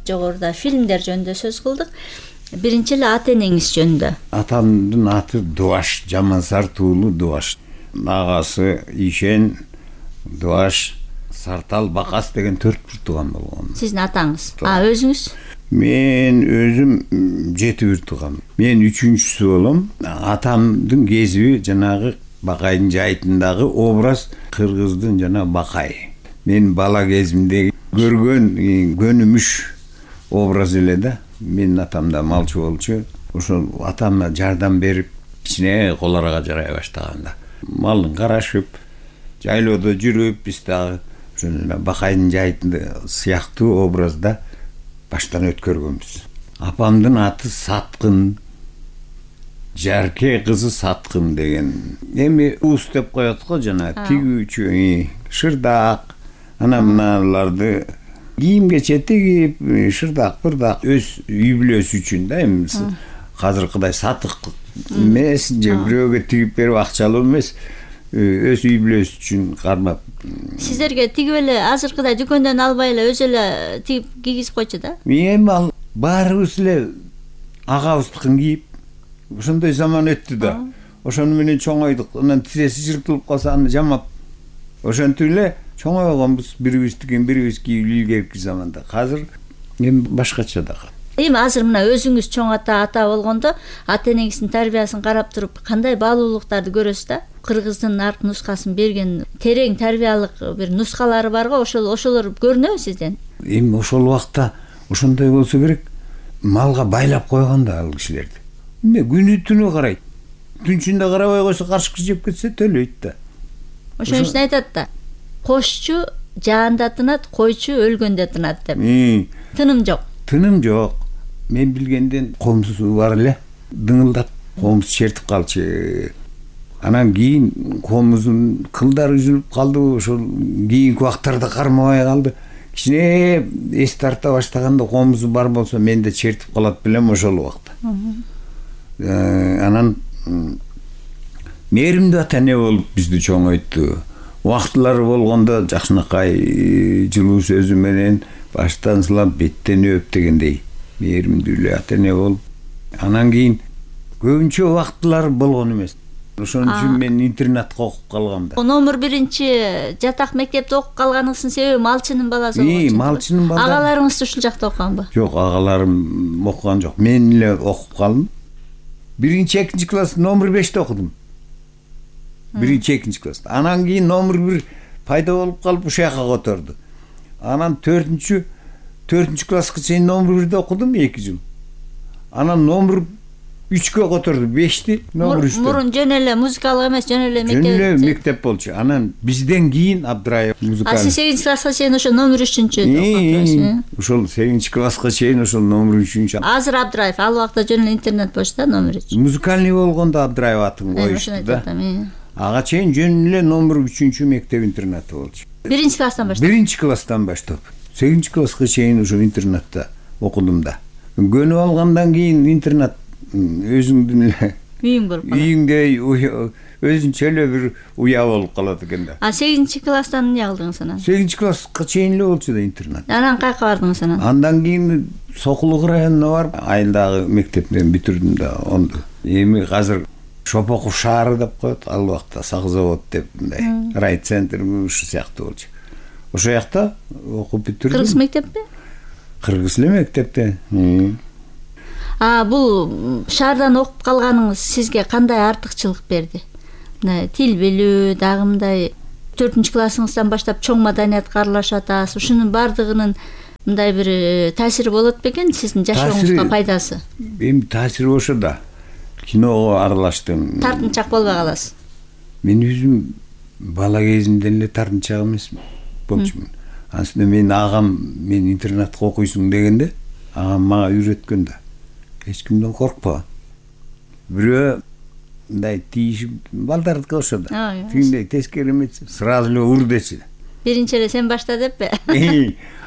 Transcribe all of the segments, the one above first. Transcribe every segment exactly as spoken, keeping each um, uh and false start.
Жогоруда фильмдер жөнүндө сөз кылдык. Биринчи эле ата энеңиз жөнүндө. Атамдын аты Дубаш, Жамансар туулу Дубаш. Агасы Ишен, Дубаш, Сартал, Бакас деген төрт бир тууган болгон. Сиздин атаңыз. А өзүңүз? Мен өзүм жети бир тууган. Мен үчүнчүсү болом. Атамдын кесиби жанагы Бакайдын жайытындагы образ кыргыздын жана Бакай. Мен бала кезимде көргөн көнүмүш образ эле да. Мен атам да малчы болчу. Ошол атамга жардам берип, кичине колорага жарай баштаганда малын карашып, жайлоодо жүрүп, биз дагы ошо Бакайдын жайытында сыяктуу образда баштан өткөргөнбүз. Апамдын аты Саткын, Жарке кызы Саткын деген. Эми уус деп коет го жана тигүүчү, шырдак, ана мыналарды кийимге тигип, шырдак, бырдак өз үй бүлөсү үчүн да, эми азыркыдай сатык эмес, же бирөөгө тигип берип акчалуу эмес, өз үй бүлөсү үчүн кармап. Сиздерге тигип эле азыркыдай дүкөндөн албай эле өзү эле тигип кийгизип койчу да? Эми ал баарыбыз эле агабыздыкын кийип, ошондой заман өттү да. Ошону менен чоңойдук. Анан тизеси жыртылып калса аны жамап, ошентип эле чоңойгонбуз, бирибиздикин бирибиз кийип илгерки заманда. Азыр эми башкача да. Эми азыр мына өзүңүз чоң ата ата болгондо, ата энеңиздин тарбиясын карап туруп, кандай баалуулуктарды көрөсүз да? Кыргыздын арк нускасын берген терең тарбиялык бир нускалары бар го, ошол ошолор көрүнөбү сизден? Эми ошол убакта ошондой болсо керек. Малга байлап койгон да ал кишилерди. Эмне күнү түнү карайт. Түнчүндө карабай койсо карышкы жеп кетсе төлөйт да. Ошон үчүн айтат да. Кошчу жаанда тынат, койчу өлгөндө тынат деп. Тыным жок. Тыным жок. Мен билгенден комсу бар эле. Дыңылдап комуз чертип калчу. Анан кийин комуздун кылдары үзүлүп калды, ошол кийинки убактарда кармабай калды. Кичине эс тарта баштаганда комузу бар болсо мен да чертип калат белем ошол убакта. Анан мээримдүү ата эне болуп бизди чоңойтту. Убактылары болгондо жакшынакай жылуу сөзү менен баштан сылап беттен өп дегендей мээримдүү эле ата эне болуп. Анан кийин көбүнчө убактылары болгон эмес. Ошон үчүн мен интернатка окуп калгам да. Номер биринчи жатак мектепте окуп калганыңыздын себеби малчынын баласы болгон. Ии, малчынын баласы. Агаларыңыз ушул жакта окуганбы? Жок, агаларым окуган жок. Мен эле окуп калдым. Биринчи, экинчи класс номер беште окудум. Биринчи, экинчи класста. Анан кийин номер бир пайда болуп калып ушул жака которду. Анан төртүнчү, төртүнчү класска чейин номер бирде окудум эки жыл. Анан номер үчкө которду, бешти номер үчтө. Мурун жөн эле музыкалык эмес, жөн эле мектеп. Жөн эле мектеп болчу. Анан бизден кийин Абдраев музыкалык. А сиз сегизинчи класска чейин ошо номер үчүнчү окудуңуз. Ошол сегизинчи класска чейин ошол номер үчүнчү. Азыр Абдраев, ал убакта жөн эле интернет болчу да, номер үч. Музыкальный болгондо Абдраев атын коюшту да. Ага чейин жөн эле номер үчүнчү мектеп интернаты болчу. Биринчи класстан баштап. Биринчи класстан баштап. сегизинчи класска чейин ошо интернатта окудум да. Көнүп алгандан кийин интернат өзүңдүн эле үйүң болуп калат. Үйүңдө өзүнчө эле бир уя болуп калат экен да. А сегизинчи класстан эмне кылдыңыз анан? сегизинчи класска чейин эле болчу да интернат. Анан каяка бардыңыз анан? Андан кийин Сокулук районуна барып, айылдагы мектептен бүтүрдүм да онду. Эми азыр Шопоков шаары деп коет, ал убакта Сакзавод деп мындай райцентр ушул сыяктуу болчу. Ошол жакта окуп бүтүрдүм. Кыргыз мектепте? Кыргыз эле мектепте. А бул шаардан окуп калганыңыз сизге кандай артыкчылык берди? Мына тил билүү, дагы мындай төртүнчү классыңыздан баштап чоң маданиятка аралашып атасыз. Ушунун бардыгынын мындай бир таасири болот бекен сиздин жашооңузга пайдасы? Эми таасири ошо да. Киного аралаштым. Тартынчак болбой каласыз. Мен өзүм бала кезимден эле тартынчак эмес болчумун. Аслында мен агам мен интернатка окуйсуң дегенде, агам мага үйрөткөн да. Эч кимден коркпа. Бирөө мындай тийишип балдардыкы ошо да. Тигиндей тескери эмес, сразу эле ур дечи. Биринчи эле сен башта деппи?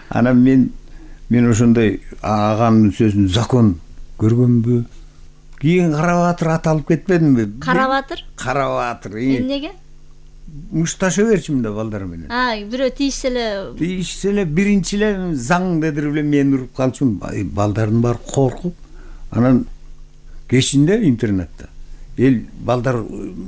Анан мен мен ошондой агамдын сөзүн закон көргөнбү? Кийин Карабатыр аталып кетпедимби? Карабатыр? Карабатыр. Эмнеге? мушташа берчүмүн да балдар менен. А, бирөө тийишсе эле тийишсе эле биринчи эле заң дедир эле мени уруп калчумун. Балдардын баары коркуп, анан кечинде интернетте эл балдар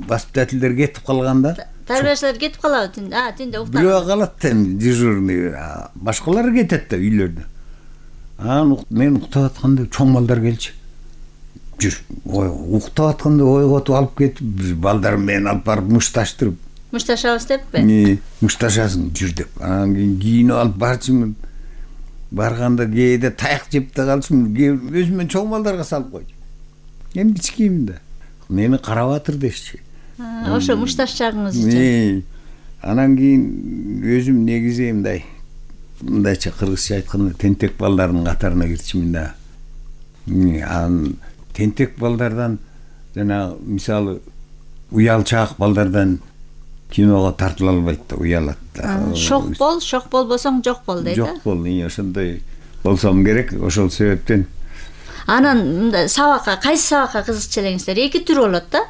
воспитательдер кетип калганда, тарбиячылар кетип калабы түндө? А, түндө уктап. бирөө калат да дежурный, башкалар кетет да үйлөрдө. Анан мен уктап атканда чоң балдар келчү. Жүр, ой, уктап атканда ойготуп алып кетип, балдар мени алып барып мушташтырып. Мушташабыз деппи? Не, мушташасың жүр деп. Анан кийин кийинип алып барчумун. Барганда кээде таяк жеп да калчумун. Өзүмөн чоң балдарга салып койчу. Эми кичкеймин да. Мени карап атыр дешчи. Ошо мушташ чагыңыз үчүн. Не. Анан кийин өзүм негизи мындай мындайча кыргызча айтканда тентек балдардын катарына кирчимин да. Анан тентек балдардан жана мисалы уялчаак балдардан киного тартыла албайт да, уялат да. Шок бол, шок болбосоң жок бол дейт. Жок бол, ошондой болсом керек, ошол себептен. Анан мындай сабакка, кайсы сабакка кызыкчу элеңиздер? Эки түр болот да.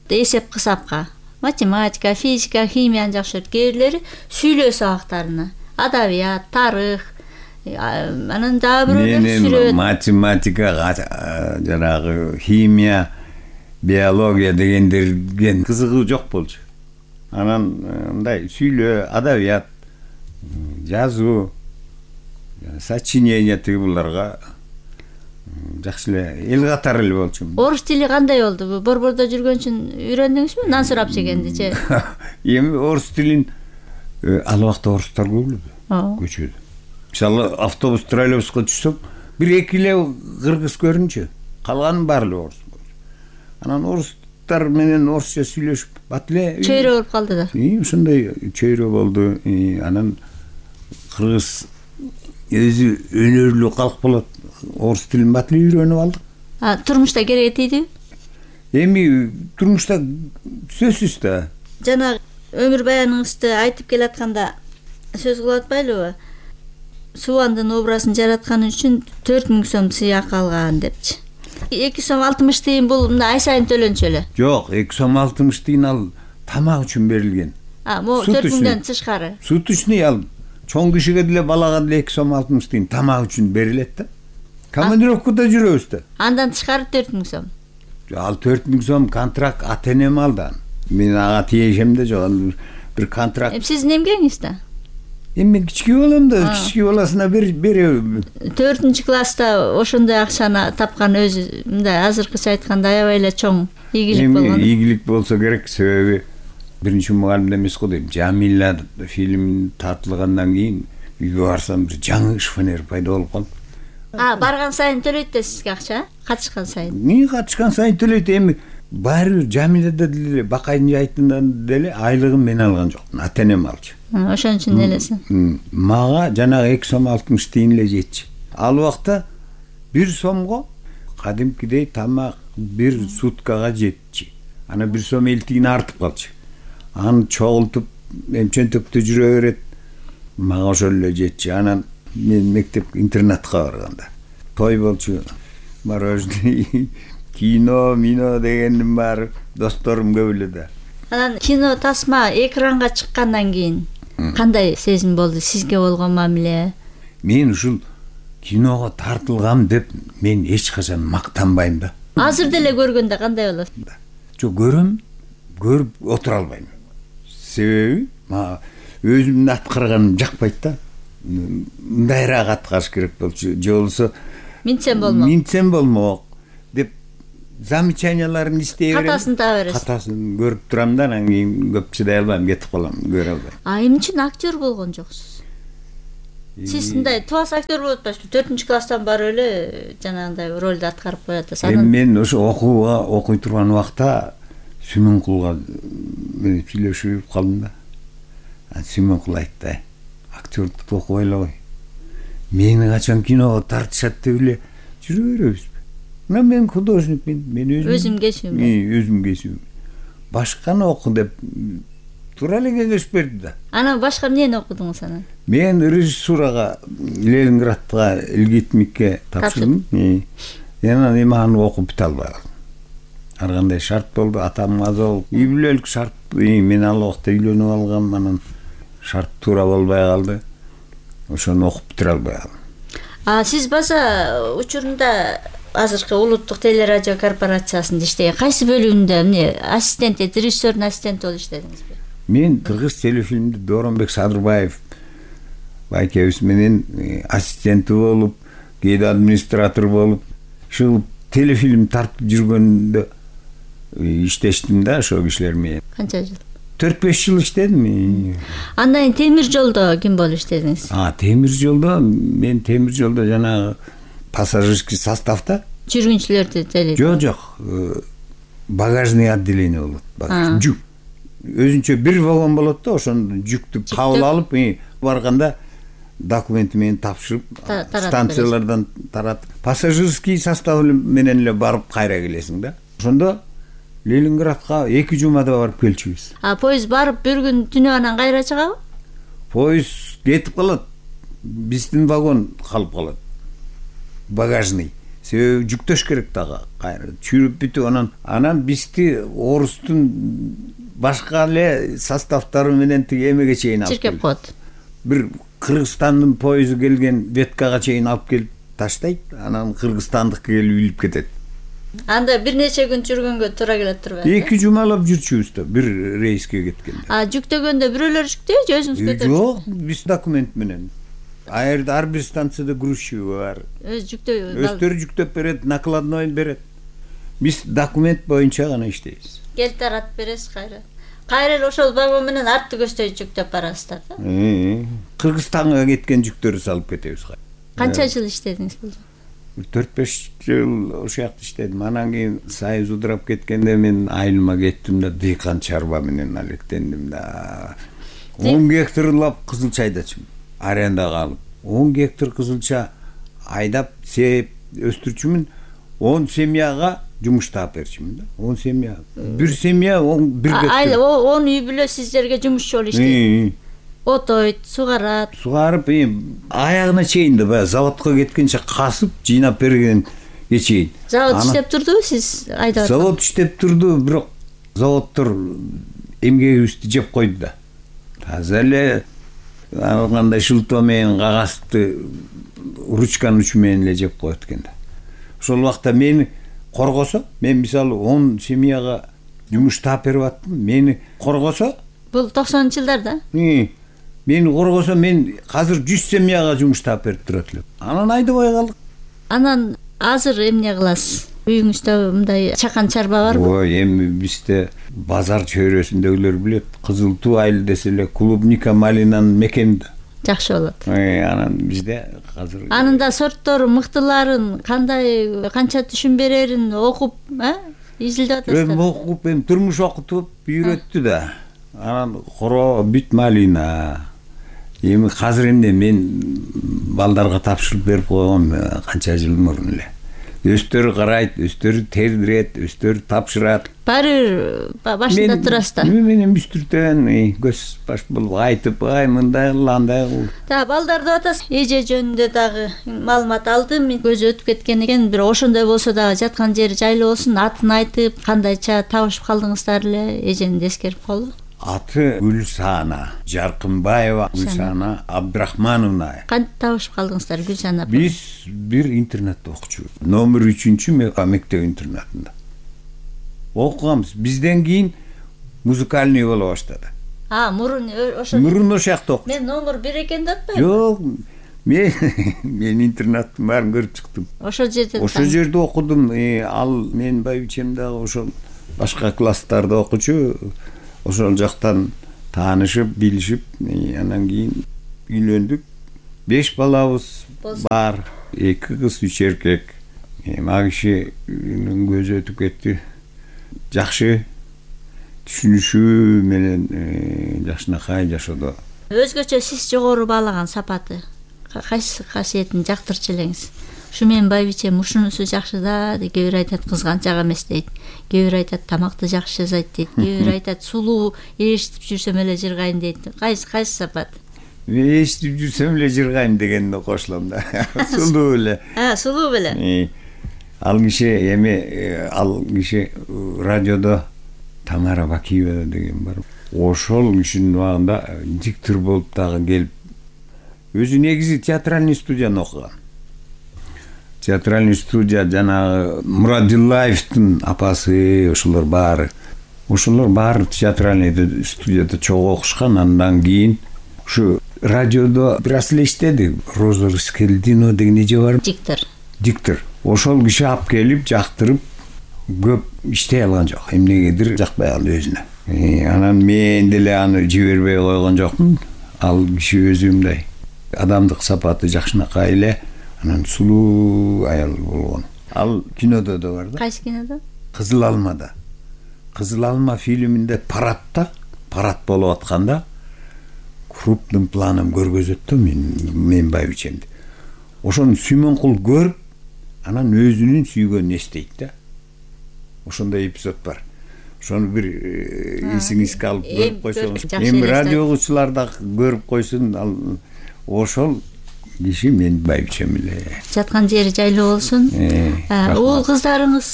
Эсеп кысапка. Математика, физика, химияны жакшы көрөт. Кээ бирлери сүйлөө сабактарына. Адабият, тарых, анан дагы бирөөлөр сүрөт. Математика, жанагы химия, биология дегендерге кызыгуу жок болчу. Анан мындай сүйлөө, адабият, жазуу, сочинение тиги буларга жакшы эле эл катары эле болчумун. Орус тили кандай болду? Борбордо жүргөн үчүн үйрөндүңүзбү? Нан сурап жегенди же? Эми орус тилин ал убакта орустар көп эле көчөдө. Мисалы автобус, троллейбуска түшсөм, бир эки эле кыргыз көрүнчү. Калганын баары эле орус. Анан орустар менен орусча сүйлөшүп, бат эле чөйрө болуп калды да. Ушундай чөйрө болду. Анан кыргыз өзү өнөрлүү калк болот. Орус тилин бат эле үйрөнүп алдык. А турмушта керек тийди? Эми турмушта сөзсүз да. Жана өмүр баяныңызды айтып келатканда сөз кылып атпайлыбы? Субандын образын жаратканы үчүн төрт миң сом сыйак алган депчи. эки сом алтымыш тыйын бул мындай ай сайын төлөнчү эле. Жок, эки сом алтымыш тыйын ал тамак үчүн берилген. А, могу төрт миңден тышкары. Суточный ал чоң кишиге деле балага деле эки сом алтымыш тыйын тамак үчүн берилет да. Командировкада жүрөбүз да. Андан тышкары төрт миң сом. Ал төрт миң сом контракт ата энем алды. Мен ага тиешем да жок. Бир контракт. Эми сиздин эмгегиңиз да? Эми кички болом да, кички баласына беребиз. төртүнчү класста ошондой акчаны тапкан өзү мындай азыркыча айтканда аябай эле чоң ийгилик болгон. Эми ийгилик болсо керек, себеби биринчи мугалимде эмес го дейм. Жамила фильм тартылгандан кийин үйгө барсам бир жаңы шифонер пайда болуп калды. А, барган сайын төлөйт да сизге акча? Катышкан сайын? Эмне катышкан сайын төлөйт? Эми баары бир Жамилада деле Бакайдын жайтынан деле айлыгын мен алган жокмун, ата энем алчу. Ошон үчүн элесиң. Мага жанагы эки сом алтымыш тыйын эле жетчи. Ал убакта бир сомго кадимкидей тамак бир суткага жетчи. Ана бир сом элүү тыйын артып калчу. Аны чогултуп эмчентөктө жүрө берет. Мага ошол эле жетчи. Анан мен мектеп интернатка барганда той болчу. Мороженое, кино, мино дегендин баары досторум көп эле да. Анан кино тасма экранга чыккандан кийин кандай сезим болду сизге болгон мамиле? Мен ушул киного тартылгам деп мен эч качан мактанбайм да. Азыр деле көргөндө кандай болот? Жок, көрөм, көрүп отура албайм. Себеби мага өзүмдүн аткарганым жакпайт да. Мындайраак аткарыш керек болчу, же болбосо минтсем болмок. Минтсем болмок деп замечанияларын иштей берем. Катасын таба бересиз. Катасын көрүп турам да, анан кийин көп чыдай албайм, кетип калам, көрө албайм. А эмне үчүн актер болгон жоксуз? Сиз мындай туас актер болуп атпайсызбы? төртүнчү класстан барып эле жанагындай ролду аткарып коет да. Эми мен ошо окууга окуй турган убакта Сүймөнкулга мен сүйлөшүп калдым да. Сүймөнкул айтты: "Актердукту окубай эле кой. Мени качан киного тартышат деп эле жүрө беребизби? Мына мен художникмин, мен өзүм өзүм кесүүм. Өзүм кесүүм. Башканы оку деп туура эле кеңеш берди да. Анан башка эмнени окудуңуз анан? Мен режиссурага Ленинградга Илгитмикке тапшырдым. Анан эми аны окуп бүтө албай калдым. Ар кандай шарт болду, атам аза болуп, үй бүлөлүк шарт мен ал убакта үйлөнүп алгам, анан шарт туура болбой калды. Ошону окуп бүтүрө албай калдым. А сиз баса учурунда азыркы улуттук телерадио корпорациясында иштеген кайсы бөлүгүндө эмне ассистент, режиссердун ассистенти болуп иштедиңизби? Мен кыргыз телефильмде Дооронбек Садырбаев байкебиз менен ассистенти болуп, кээде администратор болуп, ушул телефильм тартып жүргөндө иштештим да ошол кишилер менен. Канча жыл? төрт беш жыл иштедим. Андан кийин темир жолдо ким болуп иштедиңиз? А, темир жолдо мен темир жолдо жанагы пассажирский составда жүргүнчүлөрдү теледим. Жок, жок. Багажный отделение болот. Багаж, жүк. Өзүнчө бир вагон болот да, ошону жүктү кабыл алып, барганда документи менен тапшырып, станциялардан таратып, пассажирский состав менен эле барып кайра келесиң да. Ошондо Ленинградка эки жумада барып келчүбүз. А поезд барып бир күн түнүп анан кайра чыгабы? Поезд кетип калат. Биздин вагон калып калат. Багажный. Себеби жүктөш керек дагы. Кайра чүрүп бүтүп анан анан бизди орустун башка эле составтары менен тиги эмеге чейин алып чиркеп коет. Бир Кыргызстандын поезду келген веткага чейин алып келип таштайт, анан кыргызстандыкка келип илип кетет. Анда бир нече күн жүргөнгө туура келет турбайбы? эки жумалап жүрчүбүз да, бир рейске кеткенде. А жүктөгөндө бирөөлөр жүктөйбү же өзүңүз көтөрүп? Жок, биз документ менен. Айрда ар бир станцияда грузчиги бар. Өз жүктөйбү? Өздөрү жүктөп берет, накладной берет. Биз документ боюнча гана иштейбиз. Кел таратып бересиз кайра. Кайра эле ошол вагон менен артты көздөй жүктөп барасыздар да? Кыргызстанга кеткен жүктөрдү салып кетебиз. Канча жыл иштедиңиз бул? төрт беш жыл ошол жакта иштедим. Анан кийин Союз удурап кеткенде мен айылыма кеттим да, дыйкан чарба менен алектендим да. он гектарлап кызылча айдачумун. Арендага алып. он гектар кызылча айдап, сеп, өстүрчүмүн. он семьяга жумуш таап берчүмүн да. он семья. Бир семья он бир гектар. Айыл он үй бүлө сиздерге жумушчу болуп иштейт. Отойт, сугарат. Сугарып, аягына чейин да баягы заводко кеткенче касып, жыйнап берген чейин. Завод иштеп турдубу сиз айдап? Завод иштеп турду, бирок заводдор эмгегибизди жеп койду да. Таза эле кандай шылтоо менен кагазды ручканын учу менен эле жеп коет экен да. Ошол убакта мени коргосо, мен мисалы он семьяга жумуш таап берип аттым, мени коргосо, бул токсонунчу жылдарда? Мени коргосо, мен азыр жүз семьяга жумуш таап берип турат элем. Анан айдабай калдык. Анан азыр эмне кыласыз? Үйүңүздө мындай чакан чарба барбы? Ой, эми бизде базар чөйрөсүндөгүлөр билет. Кызыл туу айыл десе эле клубника малинанын мекени да. Жакшы болот. Ой, анан бизде азыр анын да сорттору, мыктыларын, кандай, канча түшүн берерин окуп, э? Изилдеп атасыздар. Эми окуп, эми турмуш окутуп үйрөттү да. Анан коро бүт малина. Эми азыр эмне мен балдарга тапшырып берип койгом канча жыл мурун эле. Өздөрү карайт, өздөрү тердирет, өздөрү тапшырат. Баары башында турасыздар. Мен менен бүстүртөн көз баш болуп айтып, ай мындай кыл, андай кыл. Да, балдарды атасыз. Эже жөнүндө дагы маалымат алдым. Мен көзү өтүп кеткен экен, бирок ошондой болсо дагы жаткан жери жайлуу болсун, атын айтып, кандайча табышып калдыңыздар эле, эжени эскерип коелу. Аты Гүлсана Жаркынбаева, Гүлсана Абдрахмановна. Кантип табышып калдыңыздар Гүлсана апа? Биз бир интернатта окучубуз. Номер үчүнчү мектеп интернатында окуганбыз. Бизден кийин музыкальный боло баштады. А, мурун ошо. Мурун ошол жакта окуп. Мен номер бир экен деп атпаймынбы? Жок, мен мен интернаттын баарын көрүп чыктым. Ошол жерде. Ошол жерде окудум. Ал менин байбичем дагы ошол башка класстарда окучу. Ошол жактан таанышып, билишип, анан кийин үйлөндүк. беш балабыз бар. эки кыз, үч эркек. Эми кишинин көзү өтүп кетти. Жакшы түшүнүшү менен жакшынакай жашоодо. Өзгөчө сиз жогору баалаган сапаты кайсы касиетин жактырчу элеңиз? Ушу менин байбичем ушунусу жакшы да, кээ бир айтат кызганчак эмес дейт. Кээ бир айтат тамакты жакшы жасайт дейт. Кээ бир айтат сулуу ээрчитип жүрсөм эле жыргайм дейт. Кайсы кайсы сапат? Мен ээрчитип жүрсөм эле жыргайм дегенде кошулам да. Сулуу эле. А, сулуу беле. Ал киши эми ал киши радиодо Тамара Бакиева деген бар. Ошол кишинин убагында диктор болуп дагы келип, өзү негизи театральный студияны окуган. Театральный студия жанагы Мурадиллаевдин апасы, ошолор баары. Ошолор баары театральный студияда чогуу окушкан. Андан кийин ушу радиодо бир аз эле иштеди. Роза Рыскелдинова деген эже бар. Диктор. Диктор. Ошол киши алып келип, жактырып, көп иштей алган жок. Эмнегедир жакпай калды өзүнө. Анан мен деле аны жибербей койгон жокмун. Ал киши өзү мындай адамдык сапаты жакшынакай эле, анан сулуу аял болгон. Ал кинодо да бар да. Кайсы кинодо? Кызыл алмада. Кызыл алма фильминде парадта, парад болуп атканда крупным планом көргөзөт да мен мен байбичемди. Ошону Сүймөнкул көрүп, анан өзүнүн сүйгөнүн эстейт да. Ошондой эпизод бар. Ошону бир эсиңизге алып көрүп койсоңуз, эми радиогучулар да көрүп койсун. Ал ошол киши мен байбичем эле. Жаткан жери жайлуу болсун. Уул кыздарыңыз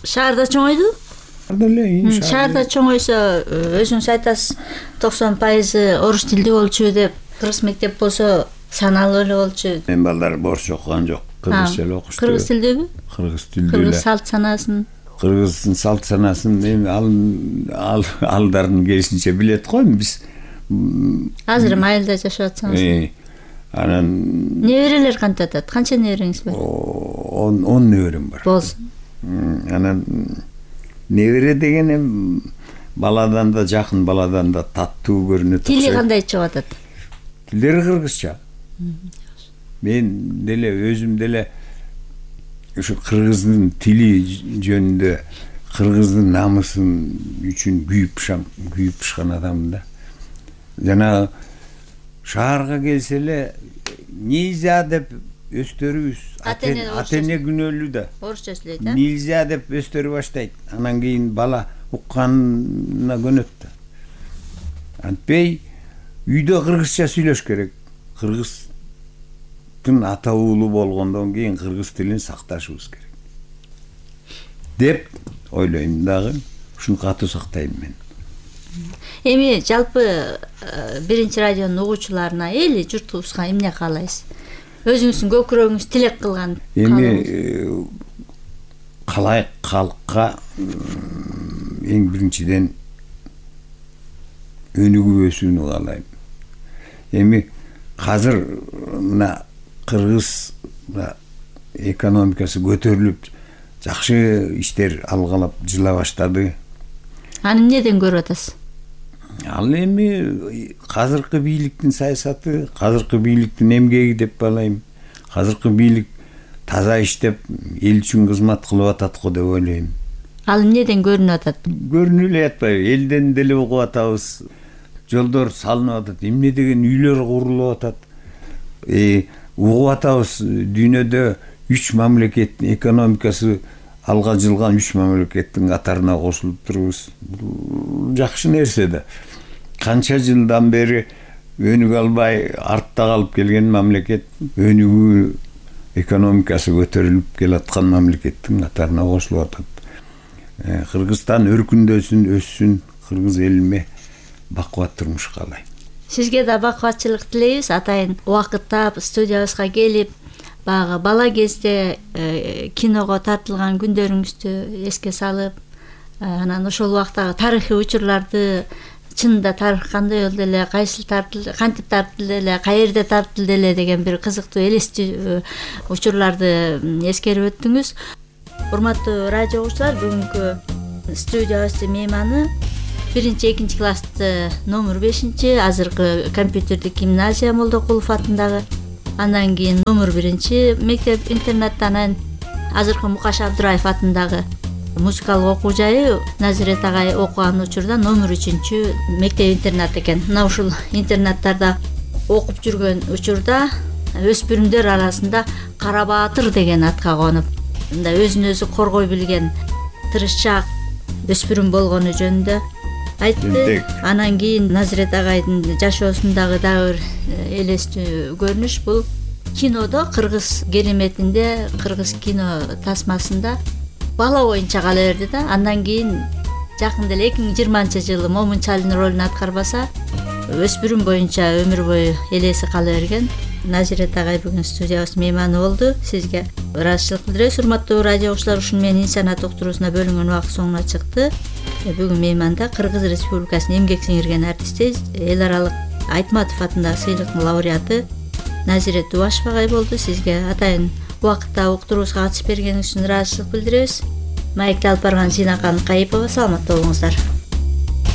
шаарда чоңойду? Шаарда чоңойсо, өзүңүз айтасыз, токсон пайызы орус тилдүү болчу деп, кыргыз мектеп болсо саналуу эле болчу. Мен балдар орусча окуган жок, кыргызча эле окушту. Кыргыз тилдүүбү? Кыргыз тилдүү эле. Кыргыз салт санаасын. Кыргыздын салт санаасын эми ал алдарын керисинче билет го. Биз азыр майылда жашап атсаңыз. Анан неберелер кантип атат? Канча небереңиз бар? он неберем бар. Болсун. Анан небере деген эми баладан да жакын, баладан да таттуу көрүнөт. Тили кандай чыгып атат? Тилдери кыргызча. Мен деле өзүм деле ушу кыргыздын тили жөнүндө, кыргыздын намысын үчүн күйүп пышам, күйүп пышкан адаммын да. Жана шаарга келсе эле нельзя деп өстөрүбүз. Ата-эне күнөөлүү да. Орусча сүйлөйт, а? Нельзя деп өстөрү баштайт. Анан кийин бала укканына көнөт да. Антпей үйдө кыргызча сүйлөш керек. Кыргыздын ата уулу болгондон кийин кыргыз тилин сакташыбыз керек деп ойлойм дагы. Ушуну катуу сактайм мен. Эми жалпы биринчи радионун угуучуларына, эли журтубузга эмне каалайсыз? Өзүңүздүн көкүрөгүңүз тилек кылган. Эми калайык калкка эң биринчиден өнүгүп өсүүнү каалайм. Эми азыр мына кыргыз экономикасы көтөрүлүп, жакшы иштер алгалап жыла баштады. Аны эмнеден көрүп атасыз? Ал эми азыркы бийликтин саясаты, азыркы бийликтин эмгеги деп балайм. Азыркы бийлик таза иштеп, эл үчүн кызмат кылып атат го деп ойлойм. Ал эмнеден көрүнүп атат? Көрүнүп эле атпайбы? Элден деле угуп атабыз. Жолдор салынып атат, эмне деген үйлөр курулуп атат. Э, угуп атабыз, дүйнөдө үч мамлекеттин экономикасы алга жылган үч мамлекеттин катарына кошулуп турубуз. Жакшы нерсе да. Канча жылдан бери өнүгө албай артта калып келген мамлекет өнүгүү экономикасы көтөрүлүп келаткан мамлекеттин катарына кошулуп атат. Кыргызстан өркүндөсүн, өссүн, кыргыз элиме бакубат турмуш каалайм. Сизге да бакубатчылык тилейбиз. Атайын убакыттап студиябызга келип, баягы бала кезде киного тартылган күндөрүңүздү эске салып, анан ошол убактагы тарыхый учурларды, чынында тарых кандай болду эле, кайсыл тартылды, кантип тартылды эле, каерде тартылды эле деген бир кызыктуу элестүү учурларды эскерип өттүңүз. Урматтуу радио угуучулар, бүгүнкү студиябыздын мейманы биринчи экинчи класстын номер бешинчи азыркы компьютердик гимназия Молдокулов атындагы, андан кийин номер биринчи мектеп интернаттан азыркы Мукаш Абдыраев атындагы музыкалык окуу жайы Назирет агай окуган учурда номер үчүнчү мектеп интернат экен. Мына ушул интернаттарда окуп жүргөн учурда өспүрүмдөр арасында Кара Баатыр деген атка конуп, мындай өзүн өзү коргой билген тырышчаак өспүрүм болгону жөнүндө айтты. Анан кийин Назирет агайдын жашоосундагы дагы бир элестүү көрүнүш бул кинодо, кыргыз кереметинде, кыргыз кино тасмасында бала боюнча кала берди да. Андан кийин жакында эле эки миң жыйырманчы жылы Момунчалдын ролун аткарбаса өспүрүм боюнча өмүр бою элеси кала берген Назирет агай бүгүн студиябыз мейманы болду. Сизге ыраазычылык билдиребиз. Урматтуу радио угуучулар, ушуну менен инсаният уктуруусуна бөлүнгөн убакыт соңуна чыкты. Бүгүн мейманда Кыргыз Республикасынын эмгек сиңирген артисти, эл аралык Айтматов атындагы сыйлыктын лауреаты Назирет Дубашева агай болду. Сизге атайын убакытта уктуруубузга катышып бергениңиз үчүн ыраазычылык билдиребиз. Маекти алып барган Зинакан Кайыпова, саламатта болуңуздар.